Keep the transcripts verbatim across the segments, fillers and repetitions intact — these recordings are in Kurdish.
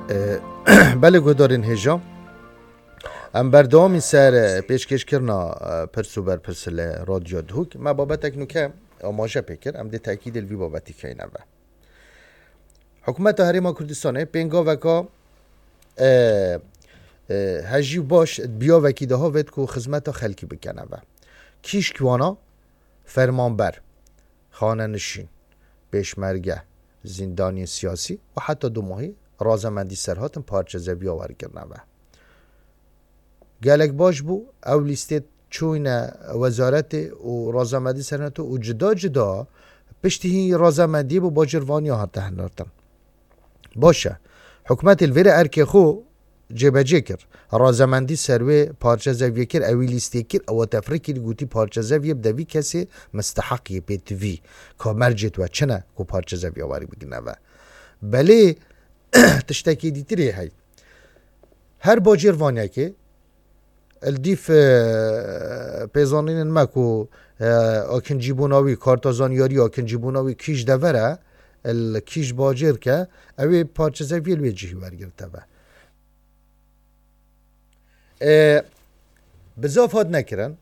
E, belê guhdarên hêja. Em berdewamî ser, e, pêşkêşkirina, e, pirs û berpirs li Radyo Duhok. Me babetek nûke amaje pê kir. Em dê tekîdê li vî babetî keyne ve. Hikûmeta Herêma Kurdistanê pêngaveka, e, e, hejî û baş bi yavekî de havêt ku xizmeta xelkî bikene ve. Kî ji wana? Fermanber, xanenişîn, pêşmerge, zîndaniyên siyasî û heta dumahî razamendî serhatin parçezeviya wergirine ve. Gelek baş bû, ew lîstê çûyne wezaretê û razamendî serhatin û cuda cuda piştî hî razamendiyê bo bacêrvaniya hate hinartin. Baş e. Hikûmetê li vêrê erkê xwe cêbecê kir. Razamendî ser wê parçezeviyê kir, ewî lîstê kir, ewa tefrikî li gotî parçezeviyê bi devî kesê misteheq yê pê tivî. Ka mercê we çi ne ku parçezeviya werî bigine ve. Belê tiştekî dîtirê hey. Her bacêrvanekê Li dîv, e, pêzanînên me ku, e, akincîbûna wî, karta zanyarî akincîbûna wî kî ji dever e, li kî ji bacêr ke, ew ê parçezeviyê li wê cihî wergirte be. E, bi zaf hat nekirin,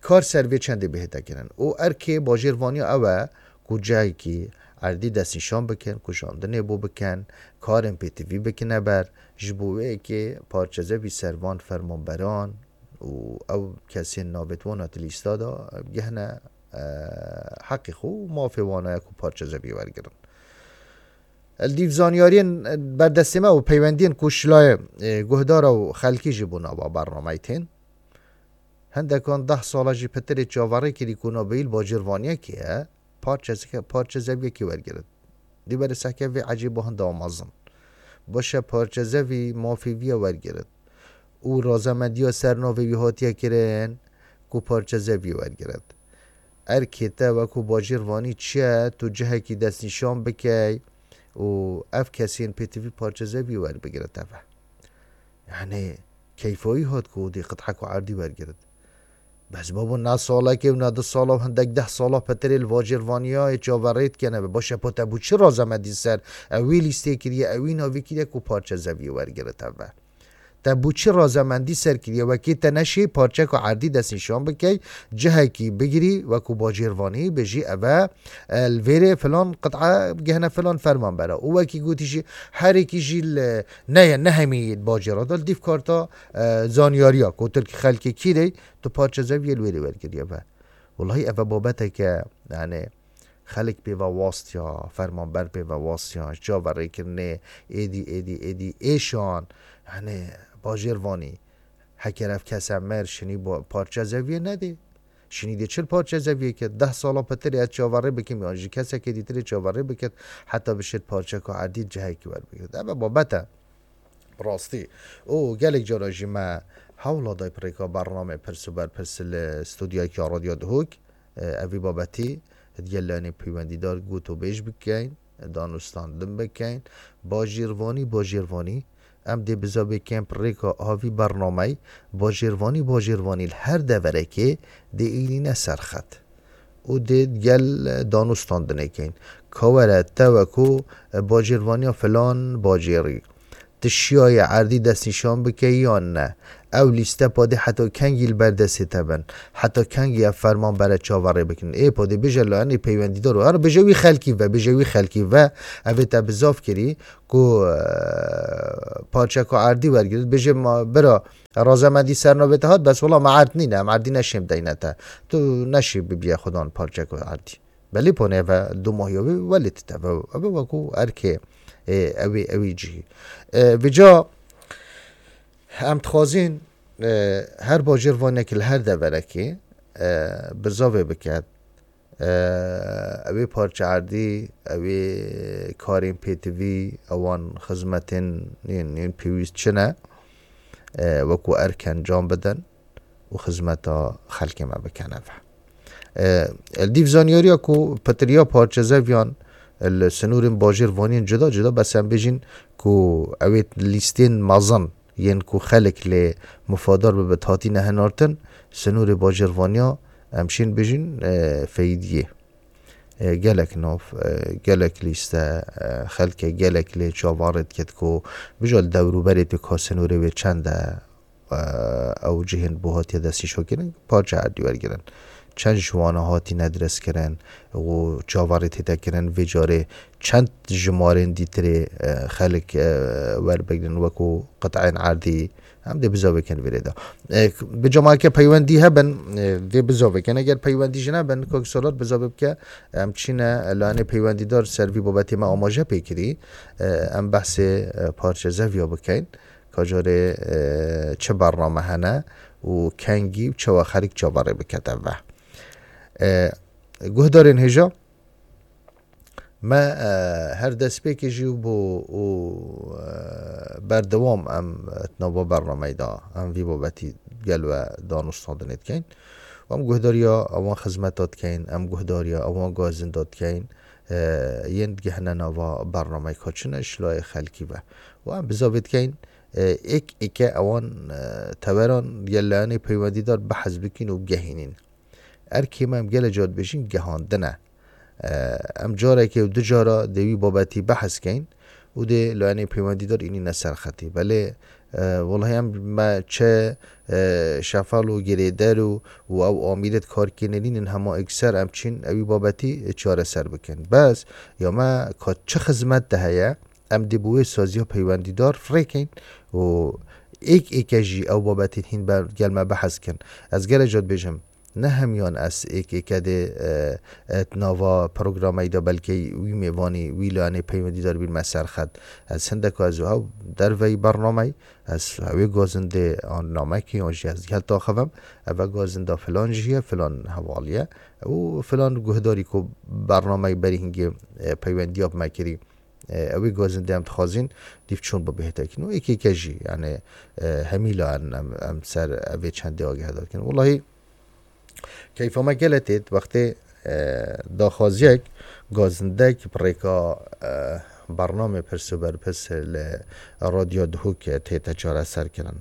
kar ser vê çendê bihête kirin. Û erkê bacêrvaniya ew e ku cihekî erdî destnîşan bikin, ku jandinê bo bikin, karên pêtivî bikine ber, ji bo wê yekê parçezevî ser van fermanberan û ew kesên navêt wan di lîsta de bigihne, e, heqê xwe û mafê wan e ku parçezevî wergirin. Li dîv zanyariyên berdestê me û peywendiyên ku ji layê, e, guhdara û xelkî jî bo nava bernameyê tên. Hindekan deh sala jî pitirê çaverê kirî ku navbeyî li bacêrvaniyekê ye, parçezeke-, parçezeviyekê wergirit. Dî berê sehke vê ecêb û hinda mezin. Baş e, parçezevî mafê vî ye wergirit. Û razamendiya ser navê wî hatiye kirin ku parçezevî wergirit. Erkê te wekû bacêrvanî çi ye, tu cihekî destnîşan bikey û ev kesên pêtivî parçezevî werbigirite ve. Yani keyfa wî hat ku dê qit'ek û erdî wergirit. Bes babo, ne salekê û ne du sala û hindek deh sala pitirê li bacêrvaniyayê çaverê dikene be. Baş e, po te bû çi razamendî ser ewî lîstê kiriye, ewî navî kiriye ku parçezeviyê wergirite ve? Te bû çi razamendî ser kiriye? Wekî te neşî parçeko erdî destnîşan bikey, cihekî bigirî, wekû bacêrvanî bêjî, eve, e, li vêrê filan qit'a bigihne filan fermanbera. Û wekî gotî jî, herêkî jî li, neye, ne hemî bacêra de li dîv karta, e, zanyariya, ku tu xelkê kî rê, tu parçezeviyê li wêrê wergiriye ve. Wellahî eve babeteke, yani, xelk pê ve wastiya, fermanber pê ve wastiya, ji çaverêkirinê êdî, êdî, êdî êşan, yani, bacêrvanî, heker ev kese mir, şinî bo-, parçezeviyê nedê. Şinî dê çil parçezeviyê kir? Deh sala pitirê ez çaverê bikim, yan jî kesekê dîtirê çaverê bikit, heta bişêt parçeko erdî cihekî werbigirît. Eve babet e. Bi rastî. Û gelek cara jî me hewla day bi rêka bernamê pirs û berpirs li studyoyeke ya Radyo Duhok, e, evî babetî digel layenê peywendîdar gotûbêj bikeyn, danûstandin bikeyn. Bajêrvanî, bajêrvanî, em dê bizavê kem bi rêka avî bernameyî, bajêrvanî, bajêrvanî li her deverekê dê îlîne ser xet. Û dê gel danûstandinê keyn. Ka were te wekû, e, bacêrvaniya filan bacêrî. Tu şiyayê erdî destnîşan bikeyî yan ne? Ew lîste padê heta kengî li ber destê te bin? Heta kengî ev ferman bere çaverê bikin? Ê padê bêje layenê peywendîdar û her bêje wî xelkî ve, bêje wî xelkî ve. Evê te bizav kirî ku, e, parçeko erdî wergirit. Bêje ma bira razamendî ser navê te hat, bes wela me erd nîne, em erdî neşêm deyne te. Tu neşî bibiye xudan parçeko erdî. Belê ponê ve du mahiya wê welê tite ve. Eve wekû erkê, e, ewî, ewî cihî. E, vêca em dixwazîn, e, her bacêrvanek li her deverekê, e, bizavê biket. E, ewê parçe erdî, ewê karên pêtivî, ewan xizmetên yên, yên pêwîst çi ne, e, wekû erk encam bidin û xizmeta xelkê me bikene ve. E, li dîv zanyariya ku pitiriya parçezeviyan li sinûrên bajêrvaniyên cuda cuda, bes em bêjin ku ewê lîstên mezin yên ku xelk lê mifadar bibe, hatîne hinartin, sinûrê bajêrvaniya em şên bêjin, e, feydiyê. e, gelek nav, e, gelek lîste, e, xelkê gelek lê çavarê diket ku bijal dewrûberê tu ka sînorê wê çend e, e, ew cihên bo hatiye destnîşankirin, parça erdî wergirin. Çend ji wana hatîne dirêzkirin û çavarê tête kirin, vê carê çend jimarên dîtirê, e, xelk, e, werbigrin wekû qit'ên erdî, em dê bizavê kin vê rê de. E, bi camake peywendî hebin, e, dê bizavê kin. Eger peywendî jî nebin, Kak Salat bizavê bike, em çîne, e, layanê peywendîdar ser vî babetê me amaje pê kirî. E, em behsê, e, parçe zeviya bikeyn. Ka carê, e, çi bername hene û kengî û çawa xelk çavarê bikete ve. E, guhdarên hêja, me, e, her destpêkê jî bû û, e, berdewam em, e, di nava bernameyê de em vî babetî gel we danûstandinê dikeyn. Em guhdariya ewan xizmeta dikeyn, em guhdariya ewan gazinda dikeyn, e, yên digihine nava bernameyê ka çi ne ji layê xelkî ve. Û em bizavê dikeyn, e, êk êke ewan, e, teveran ya layanê peywendîdar behs bikin û gehînin. Erkê me em gele car dibêjin gehandin e. E, em carekê û du cara dê wî babetî behs keyn û dê layanê peywendîdar înîne ser xetî. Belê, e, welahî em me çi, e, şefal û girêder û, û ew amîrê di kar kênê nînin hema êkser em çîn ewî babetî çareser bikin. Bes ya me ka çi xizmet de heye, em dê bi wê saziya peywendîdar firêkeyn û êk êke jî ew babetên hîn ber gel me behs kin. Ez gere car dibêjim, ne hemiyan ez êk êke dê, e, e, di nava programeyê de belkê wî mêvanî, wî layanê peywendîdar bînme ser xet. Ez hindeka ez û hew derveyî bernameyî, ez hewê gazindê an namekî an jî ez gel taxivim, eve gazinda filan jî ye, filan hevalî ye û filan guhdarî ku bernameyê berî hingê, e, peywendiya bi me kirî, e, ewê gazindê em dixwazîn dîv çûn bibihêtekin û êk êke jî, yani, e, hemî layan em, em ser evê çendê agahedar kin. Welahî keyfa me gele têt wextê, e, daxwaziyek gazindek bi rêka, e, bernamê pirs û berpirs li Radyo Duhok tête çareser kirin.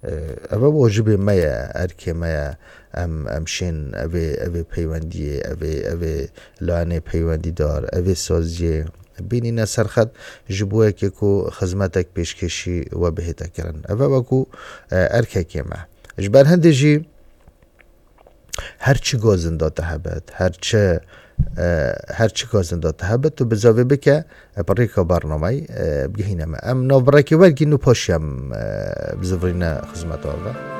E, eve wajibê me ye, erkê me ye, em, em şên evê, evê peywendiyê, evê, evê layanê peywendîdar, evê saziyê bînîne ser xet ji bo yekê ku xizmetek pêşkêşî we bihête kirin. Eve wekû, e, erkekê me. Ji ber hindê jî her çi gazinda te hebet, her çi, e, her çi gazinda te hebet, tu bizavê bike, e, bi rêka bernameyê, e, bigihîne me. Em navbirekê wergîn û paşî em, e, bizivirîne xizmeta we.